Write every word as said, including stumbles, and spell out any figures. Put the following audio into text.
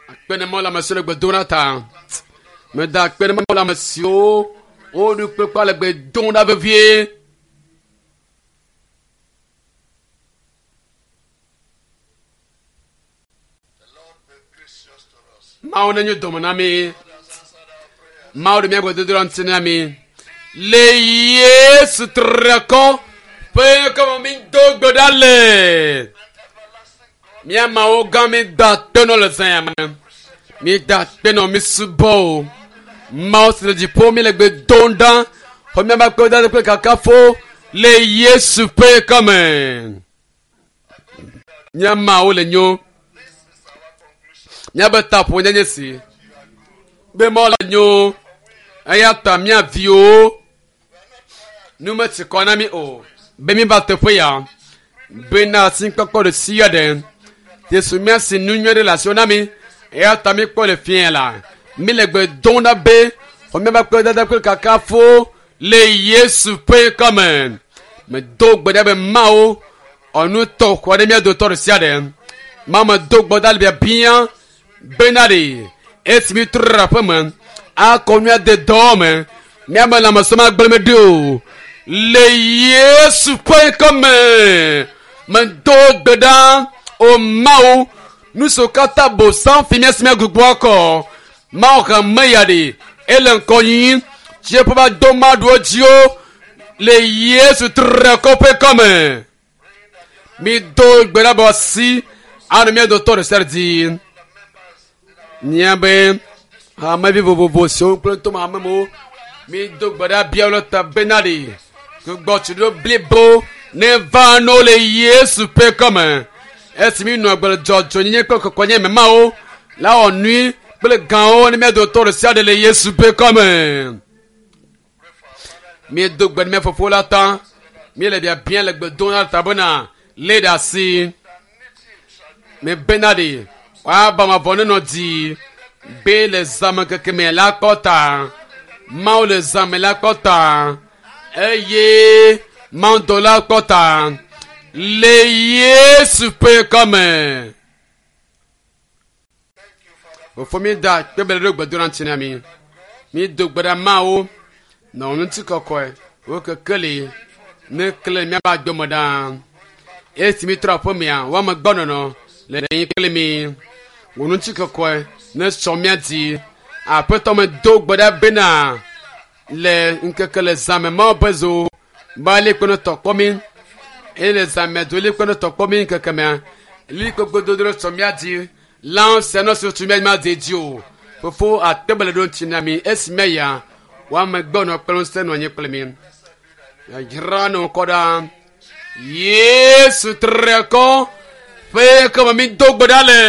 Akpe ne Mawu le ame siwo le gbe dom ɖa ta. Meda akpe ne Mawu le ame siwo woɖo kpekpe le gbe dom ɖa vevie. The Lord be gracious to us. Mawu nenyo dɔme na mi. God has answered our prayer. Mawu ɖe míaƒe dodoɖa ŋuti na mi. Le Yesu trekɔ ƒe ŋkɔme mi do gbe ɖa le. And everlasting God, Mía mawo gã mi da akpe nɔ le zã ya me. Mi da akpe nɔ mi subɔ o. Mawu si le dziƒo mi le gbe dom ɖa. Xɔ míaƒe akpedada kple kakafo le Yesu ƒe ŋkɔme. Mía mawo le nyo. this is our conclusion. Míaƒe taƒo nye si. Be Mawu le nyo. Eya ta mía viwo nu metsi kɔ na mi o. Be mi va teƒe ya. Bena asikpɔkpɔ ɖe sia ɖe. Yesu mía si nu nyui ɖe le asiwo na mi. Eya ta mi kpɔ le fiẽ la. Mi le gbe dom ɖa be xɔ míaƒe akpedada kple kakafo le Yesu ƒe ŋkɔme. Medo gbe ɖa be Mawu ɔnu tɔ xɔ ɖe mía dometɔ ɖe sia ɖe. Mawu medo gbe ɖa le biabia bena ɖe esi mi trɔ ɖe aƒe me akɔ nua de dɔ me míabe lãmesẽ magblẽ me ɖi o le Yesu ƒe ŋkɔme medo gbe ɖa o Mawu nu siwo katã bosam fi mía si míagbugbɔ akɔ Mawu hame ya ɖe ele ŋkɔ yiyim tsiẽƒe va do maɖuwo dziwo le Yesu trekɔ ƒe ŋkɔme mi do gbe ɖa be asi anɔ mía dometɔ ɖe sia ɖe dzi míabe hamevi vovovo siwo kple ŋutɔ hamemewo mi do gbe ɖa bia wo le ta bena ɖe gbugbɔtsiɖo blibo ne va no le Yesu ƒe ŋkɔme esi mi nɔ agbe le dzɔdzɔnyenye kple kɔkɔnye me mawo la wɔ nui kple gãwo ne mía dometɔ ɖe sia ɖe le Yesu ƒe ŋkɔme mi do gbe ɖe mía fofo la ta mi le biabia le gbe dom ɖa ta bena lé ɖe asi mi bena ɖe woaba mavɔ nenɔ dzi be le zãme keke me la kpɔ ta Mawu le zãme la kpɔ ta eye Mawu dɔ la kpɔ ta le Yesu ƒe ŋkɔme. Fofo mi da kpebele ɖo gbedoɖa ŋuti na mi. Mi do gbe ɖa Mawu nɔ ŋuti kɔkɔe wo kekeli ne kle míaƒe agbe me ɖaa. Esi mi trɔ aƒemea woame gbɔ nɔnɔ le anyi kple mi. Wò ŋuti kɔkɔe ne sɔ mía dzi. Aƒetɔ me do gbe ɖa bena le ŋkeke le zãme Mawu ƒe zo ba li kpe ne tɔ kpɔ mi. Eye le zãme do li kpe ne tɔ kpɔ mi ŋkeke mea. Li kpekpe dodo ɖe sɔ mía dzi. Lãwo sia nɔ si tu mía dzi ma de dzi o. Fofo akpebele ɖo ŋuti na mi esi mía ya woame gbɔ nɔ kple ŋusẽ nɔ anyi kple mi. Dzra nɔ kɔ ɖa. Yesu trekɔ ƒe ŋkɔme mi do gbe ɖa le.